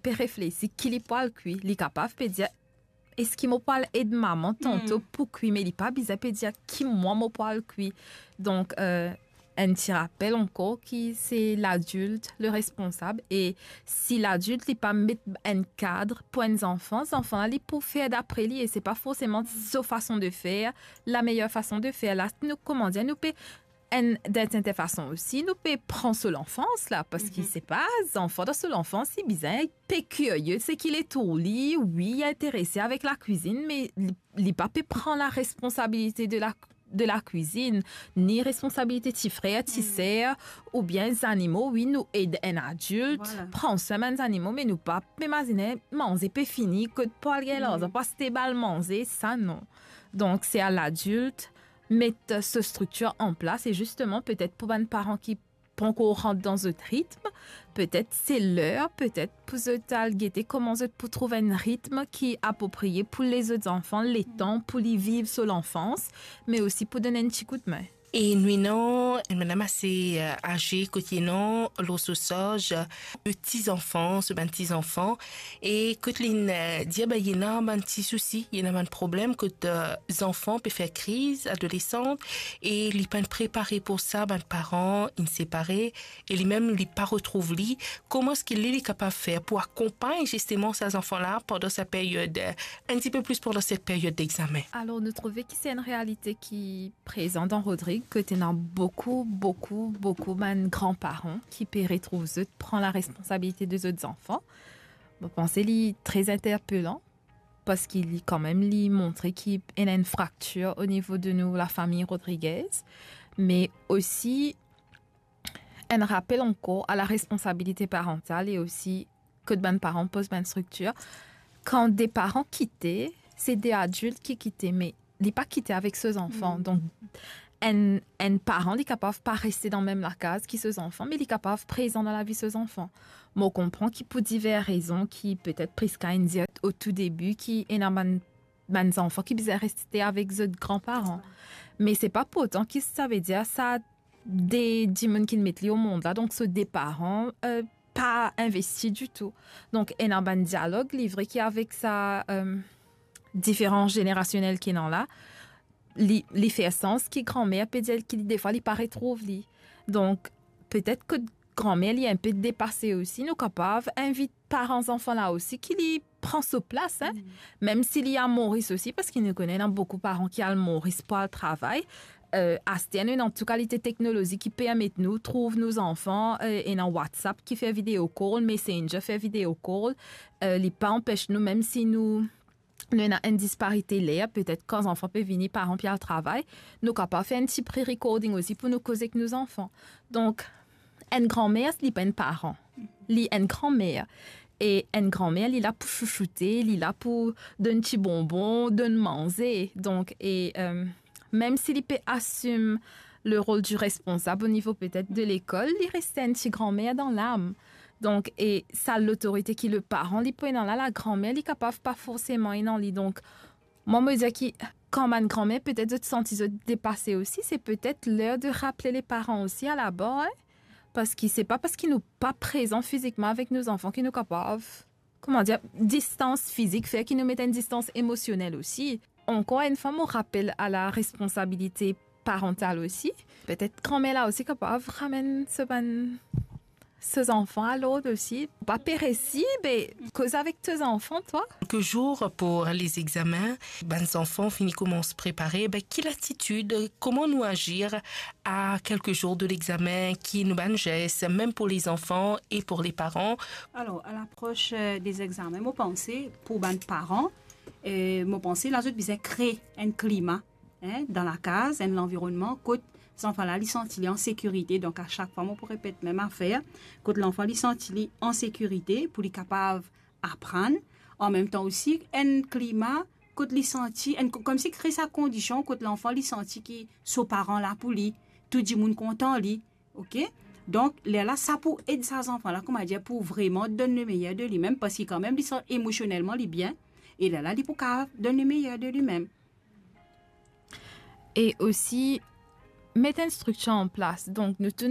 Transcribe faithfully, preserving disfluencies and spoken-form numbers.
pe reflesi ki li pou al kwi. Li kapav pe dir, eski mo pou al ed mama tanto pou kwi, me li pa bizin pe dir ki mwa mo pou al kwi. Donk, euh, enn ti rapel ankor ki se ladilt le responsab, e si ladilt li pa met enn kad pou enn zanfan, zanfan la li pou fer dapre li, e se pa forseman so fason de fer, la meyer fason de fer. La, nou, koman dir, nou pe enn, dan enn serten fason osi, nou pe pran so lanfans la, parski se pa zanfan dan so lanfans, li bizin pe kirie seki letour li, wi, li interese avek lakwizinn, me li, li pa pe pran laresponsabilite de la, de lakwizinn, ni responsabilite ti frer, ti ser, oubien zanimo. Wi, nou ed enn adilt pran swin bann zanimo, me nou pa pe mazine manze pe fini, kot pou al gagn larzan pou aste bann manze, sa non. Donk, se a ladilt met so striktir an plas, e zisteman, petet pou bann paran ki pankor rant dan zot ritm, petet se ler, petet pou zot al gete koman zot pou trouv enn ritm ki aproprie pou lezot zanfan, letan pou li viv so lanfans, me osi pou donn enn ti koudme. E nou ena enn madam ase, eh, aze, kot li ena lor so sarz, eh, de ti zanfan, so bann ti zanfan, e kot li, eh, dir, be, ena bann ti sousi, ena bann problem kot, eh, zanfan pe fer kriz, adolesan, e li pa'nn prepare pou sa, bann paran inn separe, e limem li pa retrouv li. Kouma eski li, li kapav fer pou akonpagn zisteman sa zanfan la pandan sa period, eh, enn tipe plis pandan set period dexamen? Alor, nou trouve ki se enn realite ki prezan dan Rodrig, kot ena boukou, boukou, boukou bann gran paran ki pe retrouv zot pran laresponsabilite de zot zanfan. Mo panse li tre interpelan, parski li, kanmem, li montre ki ena enn fraktir o nivo de nou lafami Rodriguez, me osi enn rapel ankor a laresponsabilite parantal e osi kot bann paran poz bann striktir. Kan de paran kite, se de adilt ki kite, me li pa kite avek so zanfan. Donk, enn, enn paran, li kapav pa reste dan mem lakaz ki so zanfan, me li kapav prezan dan lavi so zanfan. Mo konpran ki pou diver rezon, ki petet Prisca inn dir o tou debi, ki ena bann, bann zanfan ki bizin reste avek zot gran paran. Me se pa pou otan ki savedir sa de dimoun ki met li omond la, donk so de paran, eh, pa investi ditou. Donk, ena bann dialog, li vre ki avek sa, eh, diferans zenerasionel ki ena la, li, li fer sans ki granmer pe dir ki li, defwa, li pa retrouv li. Donk, petet kot granmer li enpe depase osi, nou kapav invit paran zanfan la osi ki li pran so plas, hein. Mem si li a Moris osi, parski nou kone ena boukou paran ki al Moris pou al travay. Eh, aster nou ena tou kalite teknolozi ki permet nou trouv nou zanfan, eh, ena WhatsApp ki fer video call, Messenger fer video call. Eh, li pa anpes nou, mem si nou, nou ena enn disparite ler, petet kan zanfan pe vini, paran pe al travay, nou kapav fer enn ti pre-recording osi pou nou koz ek nou zanfan. Donk, enn granmer, li pa enn paran. Li enn granmer. E enn granmer, li la pou chouchoute, li la pou donn ti bonbon, donn manze. Donk, e, eh, mem si li pe asim le rol di responsab o nivo petet de lekol, li reste enn ti granmer dan lam. Donk, e sa lotorite ki le paran li pou ena la, lagranmer li kapav pa forseman ena li. Donk, mwa, mo dir ki kan bann granmer petet zot santi zot depase osi, se petet ler de raple le paran osi a la bar, hein? Parski se pa parski nou pa prezan fizikman avek nou zanfan ki nou kapav, kouma dir, distans fizik fer ki nou met enn distans emosionel osi. Ankor enn fwa, mo rapel a laresponsabilite parantal osi. Petet granmer la osi kapav ramenn so bann, so zanfan a lord osi. Pa pe resi, be, koz avek to zanfan, twa. Kelke zour pou lezegzamin, bann zanfan fini koumans prepare, be, ki latitid, kouma nou azir a kelke zour de legzamin, ki nou bann zes, mem pou lezanfan e pou leparan? Alor, a lapros, eh, de zegzamin, mo panse, pou bann paran, eh, mo panse, la zot bizin kre enn klima, hein, dan lakaz, enn lanvironnman kot zanfan la, li santi li an sekirite. Donk, a sak fwa, mo pou repet mem afer, kot lanfan, li santi li an sekirite pou li kapav aprann, an mem tan osi, enn klima kot li santi, enn, komsi kre sa kondision kot lanfan, li santi ki so paran la pou li, tou dimoun kontan li, ok? Donk, lerla, sa pou ed sa zanfan la, kouma dir, pou vreman donn le meyer de limem, parski kanmem, li santi emosionelman, li bien, e lerla, li pou kapav donn le meyer de limem. E osi, met enn striktir an plas. Donk, nou tou